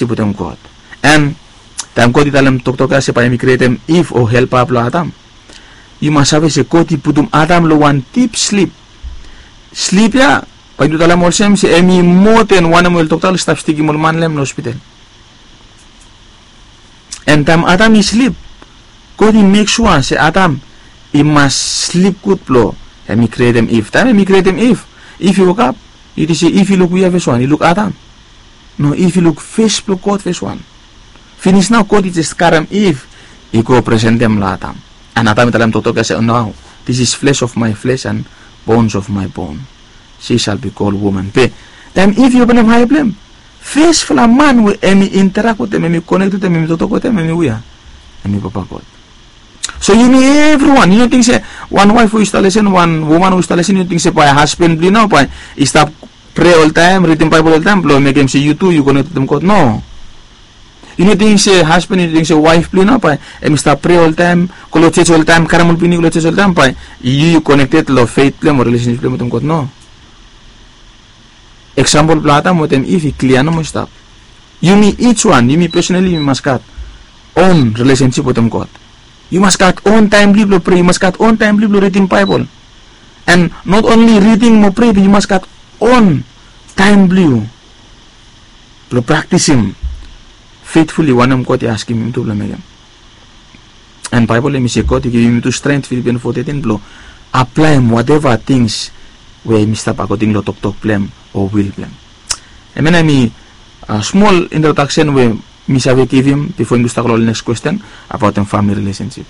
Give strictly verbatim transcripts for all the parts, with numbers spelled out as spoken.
relationship wetem God. And taem God i talem toktok ya se bae hem i krietem Iv o helpa blong Adam, yu mas save se God i putum Adam long wan dip slip. Slip ya bae yumi talem olsem se hem i moa den wanem we ol dokta oli stap stikim ol man long hem long hospital. And taem Adam i slip, God i mek sua se Adam i mas slip gud blong hem i krietem Iv. Taem hem i krietem Iv, Iv i wokap, yu ting se Iv i luk hua fes wan? I luk Adam? No, Iv i luk fes blong God fes wan. Finis nao God i jes karem Iv i go presentem long Adam. And Adam i talem toktok ya se, "Nao, this is flesh of my flesh and bones of my bone. She shall be called woman." Be taem Iv i openem ae blong hem, fesfala man we hem i interak wetem, hem i konek wetem, hem i toktok wetem, hem i hua? Hem i papa God. So yumi evriwan, yu no ting se wan waef we yu stap lesen, wan woman we yu stap lesen, yu no ting se bae hasban blong yu nao bae i stap prea oltaem, ridim Baebol oltaem blong mekem se yu tu yu konek wetem God? No. Yu no ting se hasban, yu no ting se waef blong yu nao bae hem i stap prea oltaem, go long jos oltaem, karem ol pikinini go long jos oltaem, bae yu yu konekted long feit blong hem o rilesensip blong hem wetem God? No. Eksampol blong Adam wetem Iv i klia nomo i stap. Yumi each wan, yumi pesonali yumi mas gat on rilesensip wetem God. Yu mas gat on taem blong yu blong prea, yu mas gat on taem blong yu blong ridim Baebol. And not only reading mo prea, be yu mas gat on taem blong yu blong praktisim feitfuli wanem God i askem yumi tu blong mekem. And Baebol hem i se God i givim yumi tu strength, Philippians four thirteen, blong aplaem whatever things we hem i stap according long toktok blong hem o will blong hem. Hemia nao hemi smol introdaksen we mi save givim bifo yumi tu stap go long ol next kwesten abaotem famili rilesensip.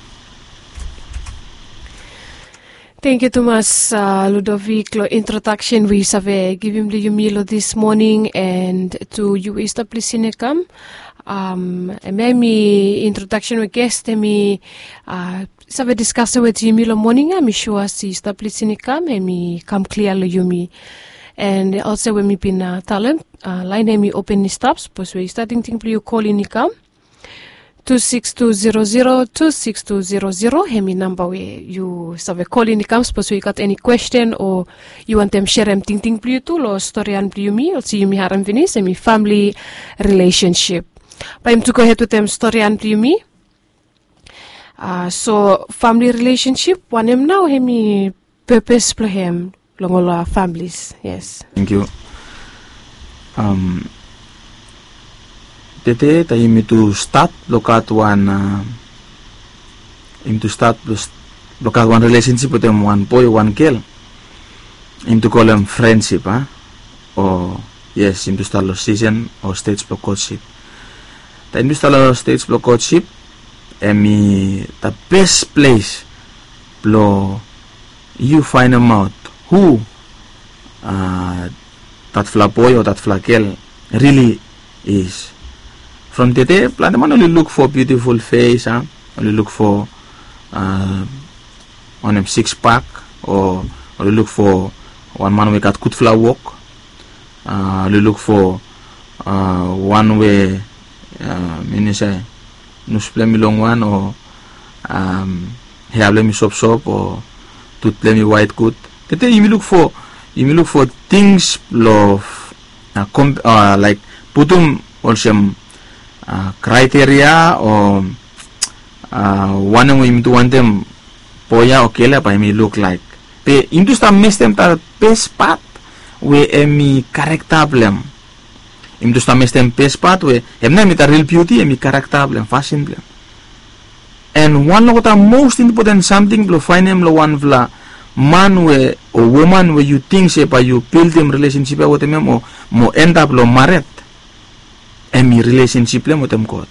Tangkiu tumas, Ludovic, long introdaksen we yu save givim long yumi long this morning, and tu yu we yu stap lisin i kam. Hemia hemi introdaksen we ges hemi save diskasem wetem yumi long moning ya. Mi sua se yu stap lisin i kam, hemi kam klia long yumi. And olsem we mi bin talem, laen hemi open i stap, sapos we yu stap tingting blong yu kolin i kam. Tu sikis tu zero zero, tu sikis tu zero zero hemi namba we yu save kolin i kam sapos we yu gat eni kwesten o yu wantem serem tingting blong yu tu long storian blong yumi olsem yumi harem finis, hemi famili rilesensip. Bae yumi tu gohed wetem storian blong yumi. So famili rilesensip wanem nao hemi pepes blong hem long ol familis? Yes. Tangkiu. Tede taem yumi tu stat blong gat wan, yumi tu stat blong gat wan rilesensip wetem wan boe o wan gel, yumi tu kolem frensip, a? O yes, yumi tu stat long sisen o stej blong kotsip. Taem yumi tu stat long stej blong kotsip, hemi the best ples blong yu faenemaot hu datfala boe o datfala gel rili is. From tede plante man oli luk fo biutiful fes, a? Oli luk fo wanem, siks pak, o oli luk fo wan man we gat gudfala wok. Oli luk fo wan we, mi no save, nos blong hem i longwan o hea blong hem i sopsop o tut blong hem i waet gud. Tede yumi luk fo, yumi luk fo tings blong laek putum olsem kraeteria o wanem we yumi tu wantem boe ya o gel ya bae hemi luklaek. Be yumi tu stap mestem the best part we hemi karekta blong hem. Yumi tu stap mestem best part we hem nao hemi the real beauty, hemi karekta blong hem, fasin blong hem. And wan long the most important samting blong faenem long wanfala man we o woman we yu ting se bae yu bildim rilesensip ya wetem hem o mo endap long mared, hemi rilesensip blong hem wetem God.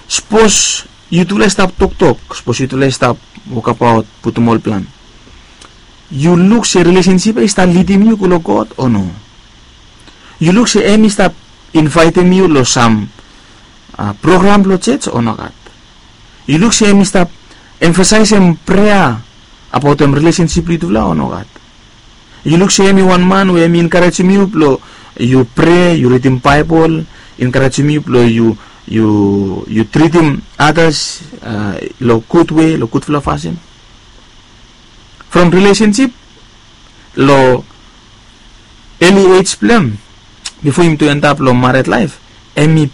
Sapos yutufala i stap toktok, sapos yutufala i stap wokbaot, putum ol plan, yu luk se rilesensip ya i stap lidim yu go long God o no? Yu luk se hem i stap invaetem yu long sam program blong jos o nogat? Yu luk se hem i stap emfasaesem prea abaotem rilesensip blong yutufala o nogat? Yu luk se hem i wan man we hem i enkarejem yu blong yu prea, yu ridim Baebol, enkarejem yu blong yu, yu, yu tritim adas long gud wei, long gudfala fasin? From rilesensip long eli ej blong hem, bifo yumi tu endap long mared laef, Hemi